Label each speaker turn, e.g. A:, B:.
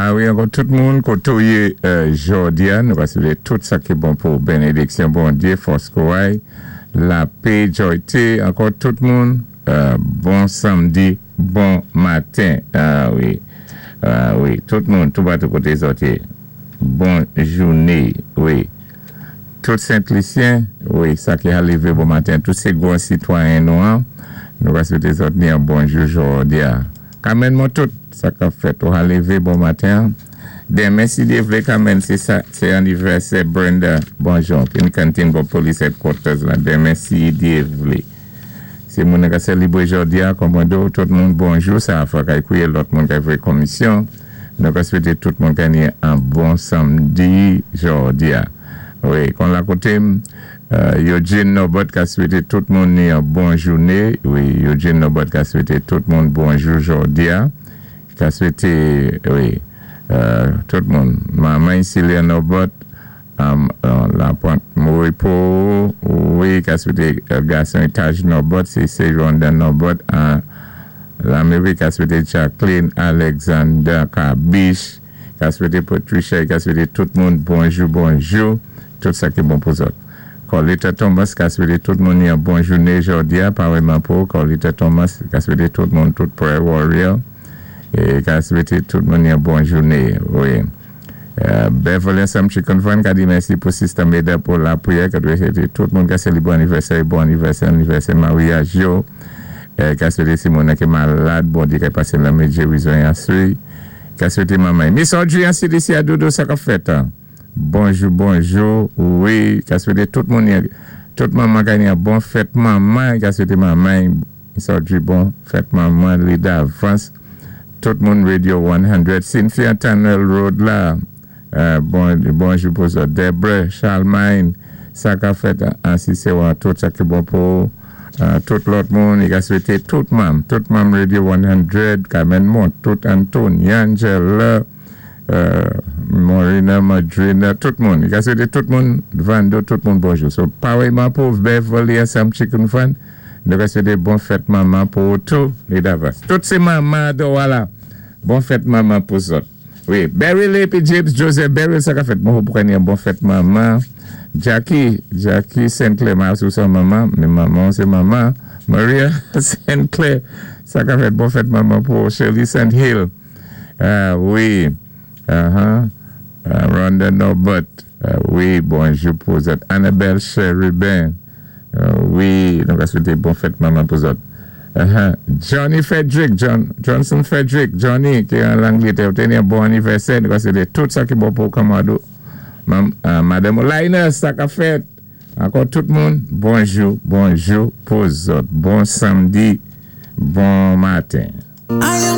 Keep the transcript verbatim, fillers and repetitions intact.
A: A wi, ankò tout moun, koté ou yé euh, jòdi-a, nou ka swété tout sa ki bon pou bénédiksyon Bondyé, fòs kouray, lapè, jòyté, ankò tout moun, euh, bon sanmdi, bon maten. A wi, a wi, tout moun, tout bato koté zòt yé. Bon jouné, wi. Tout Sent-Lisyen, wi, sa ki a lévé bon maten, tout sé gwan sitwayen nou an, nou ka swété zòt ni an bonjou jòdi-a. Kamen moun tout, sa ka fèt ou a lévé bon maten. Denmen si Dye vlé kamen, sé sa, sé anivèsè Brenda Bonjour, ki ni kantin bò police headquarters la, denmen si Dye vlé. Si moun ka sélébwé jòdi-a, kòmando, tout moun bonjou, sa a fwa kay kouwé lòt moun kay vwé komisyon. Nou ka swété tout moun ka ni an bon sanmdi jòdi-a. Wi, kon la koté, euh, Eugene Nobot ka swété tout moun ni an bon jouné. Wi, Eugene Nobot ka swété tout moun bonjou jòdi-a. Ka swété, wi, euh, tout moun. Manman Celia Nobot, um, euh, la pwant Moripo, wi, ka swété euh, gason Taj Nobot, sé sé Rhonda Nobot, an Lamérik ka swété Jacqueline Alexander Kabish, ka swété Patricia, ka swété tout moun bonjou, bonjou, tout sa ki bon pou zòt. Colita Thomas ka swété tout moun ni an bon jouné jòdi-a, parèyman pou Colita Thomas ka swété tout moun tout prayer warrior, é ka swété tout moun ni an bon jouné, wi. Euh, Beverly Sam Chicken Fan ka di mèsi pou Sister Meda pou lapriyè, ka swété tout moun ka sélébré anivèsè, bon anivèsè, anivèsè maryaj yo. Euh, ka swété si moun ki malad, Bondyé ka pasé lanmen gérizon aswé. Ka swété manman. Miss Audrey an C D C a Dodo sa ka fèt. Hein? Bonjou, bonjou. Wi, ka swété tout moun tout manman ka ni an bon fèt manman, ka swété manman Miss Audrey bon fèt manman li davans. Tout moun Radio san, Cynthia Tunnel Road la. Euh, bon, bonjou pou zòt. Deborah, Charlemagne, sa ka fèt an si sé tout sa ki bon pou euh, tout lòt moun, i ka swété tout manm, tout manm Radio san, Carmen Mont, tout Anthony, Angela, euh, Morina, Madrina, tout moun. I ka swété tout moun, Vando, tout moun bonjou. So, parèyman pou Beverly Sam Chicken Fan, nou ka swété bon fèt manman pou tout, li davans. Tout sé manman do wala. Bon fèt manman pou zòt. Wi, Barry Lepi James Joseph Barry, sa ka fèt bon pou ni bon fèt manman. Jackie, Jackie Sinclair, ma sou sa manman, mais manman sé manman. Maria Sinclair, sa ka fèt bon fèt manman pou Shirley Saint Hill. Uh, wi. Uh-huh. Uh, Rhonda Norbert. Uh, wi, bonjou pou zòt. Annabelle Cherubin. Uh, wi, donk a swété bon fèt manman pou zòt. Uh-huh. Johnny Frederick, John, Johnson Frederick, Johnny, ki an Langlétè, té yon bon anivèsè, nou ka swété tout sa ki bon pou Kamado. Mam, uh, Madame Linus, sa ka fèt. Ankò tout moun, bonjou, bonjou pou zòt. Bon sanmdi, bon maten.
B: I am